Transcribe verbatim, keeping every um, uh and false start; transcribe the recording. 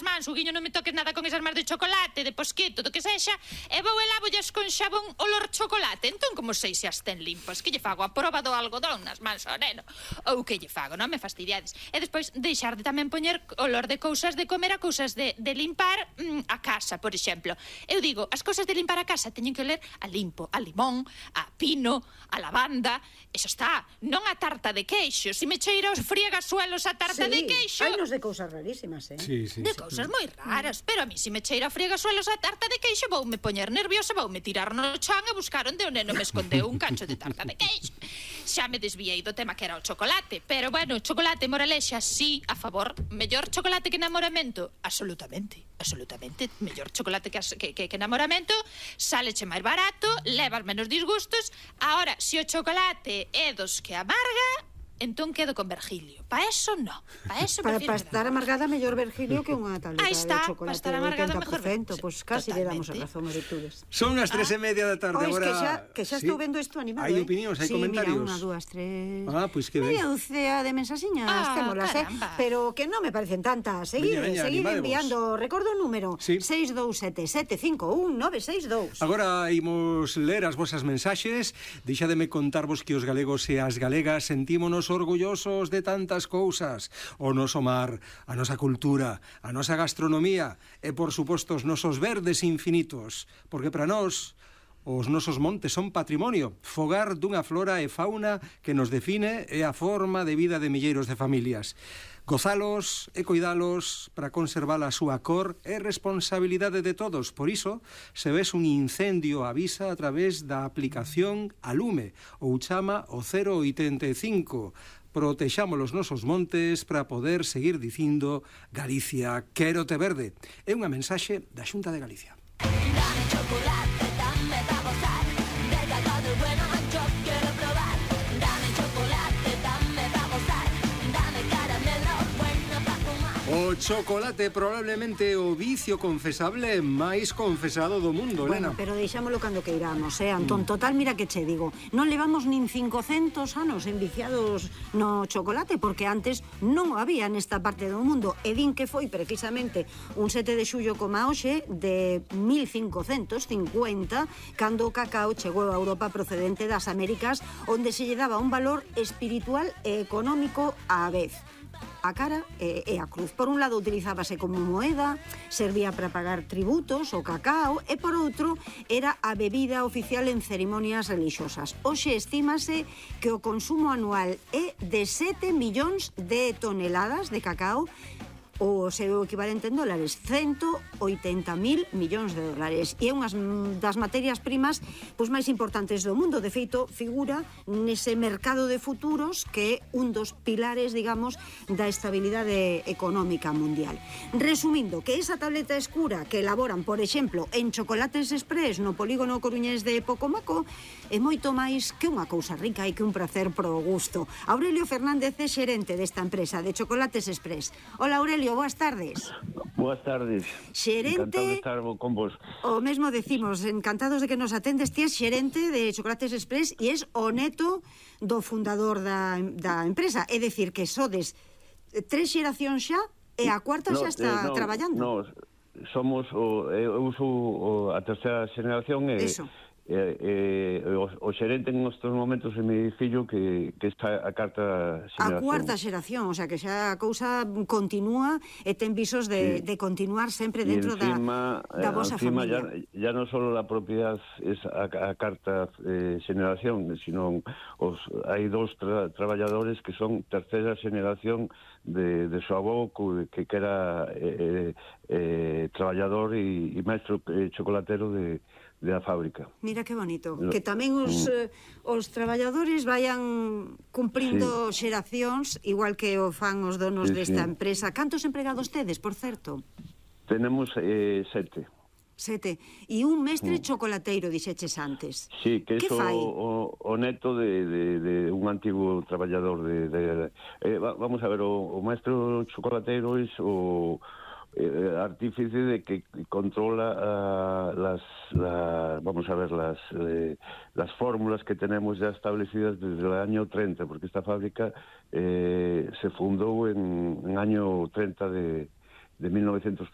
mans, o guiño non me toques nada con esas mans de chocolate, de posquito, do que sexa, e vou e lávollas con xabón olor chocolate. Entón, como sei se as ten limpas? Que lle fago? A proba do algodón nas mans ao neno? Ou que lle fago? Non me fastidiades. E despois, deixar de tamén poñer olor de cousas de comer a cousas de, de limpar mm, a casa, por exemplo. Eu digo, as cousas de limpar a casa teñen que oler a limpo, a limón, a pino, a lavanda, eso está, non a tarta de queixo. Se me cheira os friegasuelos a tarta sí, de queixo... hai nos de cousas rarísimas, eh? Sí, sí, de sí. cousas moi raras, pero a mí se me cheira friegasuelos a tarta de queixo voume poñer nerviosa, voume tirar no chan e buscar onde o neno me escondeu un cacho de tarta de queixo. Xa me desviei do tema que era o chocolate, pero bueno, chocolate, moralexa, sí, a favor. Mellor chocolate que enamoramento? Absolutamente, absolutamente. Mellor chocolate que, que, que, que enamoramento, sáleche máis barato, levas menos disgustos. Ahora, se o chocolate é dos que amarga, entón quedo con Virgilio. Pa eso no. Pa eso Para, prefiro para estar amargada mellor Virgilio que unha tableta Ahí está, de chocolate para estar amargada de mejor oitenta por cento. Pois pues casi le damos a totalmente. razón a virtudes. Son as tres e media da tarde Pois agora. que xa, que xa Sí. estou vendo isto animado, Hai eh? opinións, hai sí, comentarios. Mira, unha, dúas, tres... Ah, pois que ben. Media dúcea de mensaxiñas Ah, témolas, eh? caramba. Pero que non me parecen tantas. Seguir, Veña, veña, seguir animadevos. enviando. Recordo o número Sí. seis dous sete sete cinco un nove seis dous. Agora imos ler as vosas mensaxes. Deixademe contarvos que os galegos e as galegas sentímonos orgullosos de tantas cousas. O noso mar, a nosa cultura, a nosa gastronomía e, por suposto, os nosos verdes infinitos. Porque para nós, os nosos montes son patrimonio, fogar dunha flora e fauna que nos define e a forma de vida de milleiros de familias. Gozalos e coidalos para conservar a súa cor é responsabilidade de todos. Por iso, se ves un incendio, avisa a través da aplicación Alume ou chama o cero oitenta e cinco. Protexamos os nosos montes para poder seguir dicindo Galicia, quérote verde. É unha mensaxe da Xunta de Galicia. Dame chocolate, dame pa' gozar, del cacao del bueno yo quiero probar. Dame chocolate, dame pa' gozar, dame caramelo bueno pa' fumar. O chocolate probablemente o vicio confesable máis confesado do mundo, Bueno, Elena. pero deixámolo cando queiramos, eh, Antón. Total, mira que che digo, non levamos nin cincocentos anos enviciados no chocolate, porque antes non o había nesta parte do mundo. E din que foi precisamente un sete de xullo como hoxe de mil cincocentos cincuenta, cando o cacao chegou a Europa procedente das Américas, onde se lle daba un valor espiritual e económico á vez. A cara e, e a cruz. Por un lado utilizábase como moeda, servía para pagar tributos, o cacao, e por outro era a bebida oficial en cerimonias religiosas. Hoxe estímase que o consumo anual é de sete millóns de toneladas de cacao, o seu equivalente en dólares, ciento oitenta mil millóns de dólares. E é unhas das materias primas pois máis importantes do mundo. De feito, figura nese mercado de futuros que é un dos pilares, digamos, da estabilidade económica mundial. Resumindo, que esa tableta escura que elaboran, por exemplo, en Chocolates Express no polígono coruñés de Pocomaco é moito máis que unha cousa rica e que un prazer pro gusto. Aurelio Fernández é xerente desta empresa de Chocolates Express. Hola, Aurelio, boas tardes. Boas tardes. Xerente... Encantado de estar con vos. O mesmo decimos, encantados de que nos atendes. Ti és xerente de Chocolates Express e és o neto do fundador da, da empresa. É dicir, que sodes tres xeracións xa e a cuarta no, xa está eh, no, traballando. No, somos o, eu uso o, a terceira xeración e... Eso. Eh, eh, o, o xerente en estes momentos é mi fillo que, que está a carta xeración. A cuarta xeración, o sea que xa a cousa continúa e ten visos de, sí. de continuar sempre dentro encima, da, da vosa encima familia. Ya, ya non só a propiedade é a, a carta eh, xeración, sino os, hai dous tra, traballadores que son terceira xeración de, de su avó que, que era eh, eh, traballador e, e maestro eh, chocolatero de de a fábrica. Mira que bonito, que tamén os, eh, os traballadores vayan cumprindo sí. xeracións, igual que o fan os donos sí, desta sí. empresa. Cantos empregados tedes, por certo? Tenemos eh, sete. Sete. E un mestre mm. chocolateiro, dixeches antes. Sí, que é o, o, o neto de, de, de un antigo traballador de... de eh, vamos a ver, o, o maestro chocolateiro é o... Eh, artífice de que controla uh, las, la, vamos a ver, las, eh, las fórmulas que tenemos ya establecidas desde el año treinta, porque esta fábrica eh, se fundó en, en año treinta de, de mil novecientos